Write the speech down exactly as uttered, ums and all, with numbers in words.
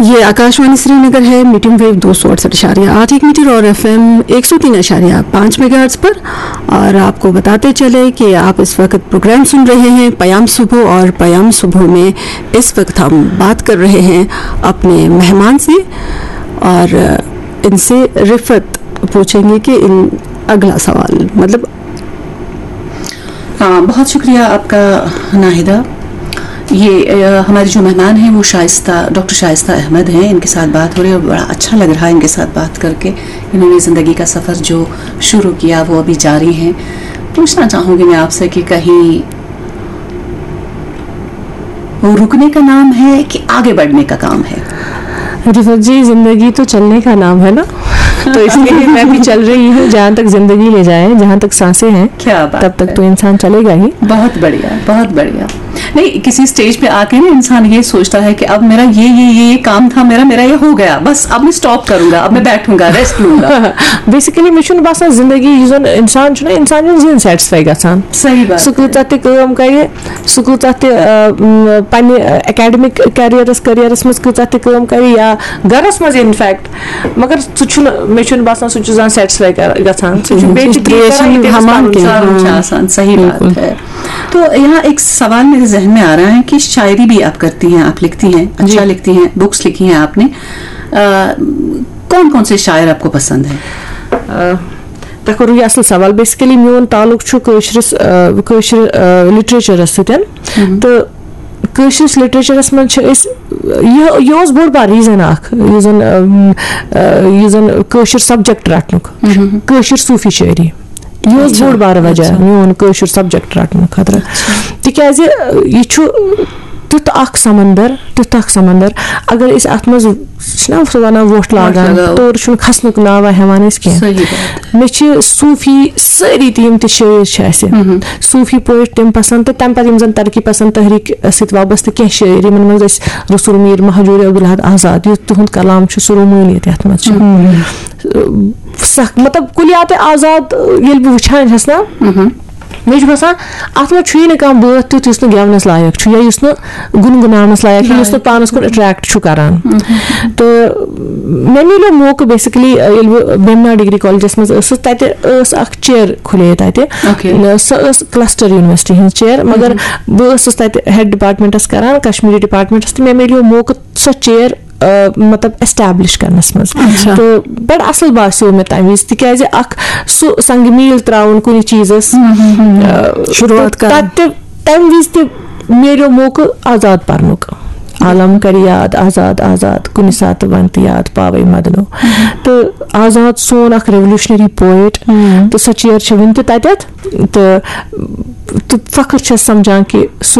ये आकाशवाणी श्रीनगर है, medium wave दो सौ अड़सठ इशारिया आठ एक मीटर और एफएम एक सौ तीन इशारिया पाँच मेगाहर्ट्ज पर। और आपको बताते चले कि आप इस वक्त प्रोग्राम सुन रहे हैं पयाम सुबह, और पयाम सुबह में इस वक्त हम बात कर रहे हैं अपने मेहमान से, और इनसे रिफत पूछेंगे कि इन अगला सवाल, मतलब, हाँ, बहुत शुक्रिया आपका, नाहिदा। ये अ, हमारे जो मेहमान हैं, वो शाइस्ता, डॉक्टर शाइस्ता अहमद हैं। इनके साथ बात हो रही है और बड़ा अच्छा लग रहा है इनके साथ बात करके। इन्होंने ज़िंदगी का सफ़र जो शुरू किया, वो अभी जारी है। पूछना चाहूँगी मैं आपसे कि कहीं वो रुकने का नाम है कि आगे बढ़ने का काम है? रिफत जी, जिंदगी तो चलने का नाम है ना, तो इसलिए मैं भी चल रही हूँ। जहाँ तक जिंदगी ले जाए, जहाँ तक सांसें हैं, क्या बात तब तक है। तो इंसान चलेगा ही। बहुत बढ़िया, बहुत बढ़िया। नहीं, किसी स्टेज पे आके ना इंसान ये सोचता है कि अब मेरा ये ये ये ये काम था मेरा, मेरा ये हो गया, बस अब मैं स्टॉप करूंगा, अब मैं बैठूंगा, रेस्ट लूंगा। بیسکلی مےٚ چھُنہٕ باسان زندگی یُس زَن اِنسان چھُنہ، اِنسان چھُنہٕ زِہِنۍ سیٹسفاے گژھان۔ सही बात سُہ کۭژاہ تہِ کٲم کَرِ، سُہ کۭژاہ تہِ آ، م، پننہِ اکیڈمک کیریئرس کیریئرس منٛز کۭژاہ تہِ کٲم کَرِ یا گرس منٛز، انفیکٹ، مگر سُہ چھُنہٕ، مےٚ چھُنہٕ باسان سُہ چھُ زانٛہہ سیٹسفاے گژھان۔ سُہ چھُ بیٚیہِ تہِ تی کران، ییٚتہِ تٔمِس پَنُن سارُن چھُ آسان۔ صحیح بات ہے۔ تو یہاں ایک سوال میرے ذہن میں آ رہا ہے کہ شاعری بھی آپ کرتی ہیں، آپ لکھتی ہیں، اچھا لکھتی ہیں، بکس لکھی ہیں آپ نے۔ کون کون سے شاعر آپ کو پسند ہیں؟ تۄہہِ کوٚروٕ یہِ اَصٕل سوال۔ بیسکلی میون تعلق چھُ کٲشرِس آ، کٲشرِ لِٹریچرس سۭتۍ، تہٕ کٲشرِس لِٹریچرس منٛز چھِ أسۍ، یہِ یہِ اوس بوٚڑ بار ریٖزن اکھ، یُس زن آ، یُس زن کٲشُر سبجیکٹ رٹنُک، کٲشِر صوٗفی شٲعری۔ یہِ اوس بوٚڑ بار وجہ میون کٲشُر سبجیکٹ رٹنہٕ خٲطرٕ، تِکیازِ یہِ چھُ تیُتھ اکھ سمندر، تیُتھ اکھ سمندر۔ اگر أسۍ اتھ منٛز، چھِنہ سُہ ونان، وۄٹھ لاگان، تورٕ چھُنہٕ کھسنُک ناوا ہٮ۪وان أسۍ کینٛہہ۔ مےٚ چھِ صوٗفی سٲری تہِ، یِم تہِ شٲعر چھِ اَسہِ، صوٗفی پویٹ، تِم پسنٛد، تہٕ تَمہِ پتہٕ یِم زن ترقی پسنٛد تحریٖک سۭتۍ وابستہٕ کینٛہہ شٲعر، یِمن منٛز أسۍ رسول میٖر، مہجوٗر عبدالحد آزاد، یُس تِہُنٛد کلام چھُ، سُہ رومٲنیت یتھ منٛز چھُ۔ سخ، مطلب، کُلیات آزاد ییٚلہِ بہٕ وٕچھان چھَس نا، مےٚ چھُ باسان، اتھ منٛز چھُے نہٕ کانٛہہ بٲتھ تیُتھ یُس نہٕ گٮ۪ونس لایق چھُ یا یُس نہٕ گُنگُناونس لایق چھُ، یُس نہٕ پانس کُن اٹریکٹ چھُ کران۔ تہٕ مےٚ میلیو موقعہٕ، بیسکلی، ییٚلہِ بہٕ بیمنا ڈگری کالجس منٛز ٲسٕس، تتہِ ٲس اکھ چیئر کھُلے تتہِ۔ سۄ ٲس کلسٹر یونیورسٹی ہٕنٛز چیئر، مگر بہٕ ٲسٕس تتہِ ہیڈ ڈپارٹمنٹس کران، کشمیری ڈپارٹمنٹس، تہٕ مےٚ میلیو موقعہٕ سۄ چیئر، آ، مطلب، ایسٹیبلش کرنس منٛز۔ تہٕ بڑٕ اصل باسیو مےٚ تمہِ وِزِ، تِکیازِ اکھ سُہ سنگ میل تراوُن کُنہِ چیٖزس، آ، شروٗعات تہٕ کرٕنۍ۔ تتہِ تہِ، تمہِ وِزِ تہِ میلیو موقعہٕ آزاد پرنُک۔ عالم کرِ یاد آزاد آزاد، کُنہِ ساتہٕ ون تہٕ یاد پاوے مدنو۔ تہٕ آزاد سون اکھ ریولوشنری پویٹ، تہٕ سۄ چیئر چھِ وُنہِ تہِ تتٮ۪تھ۔ تہٕ تہٕ فخر چھَس سمجھان کہِ سُہ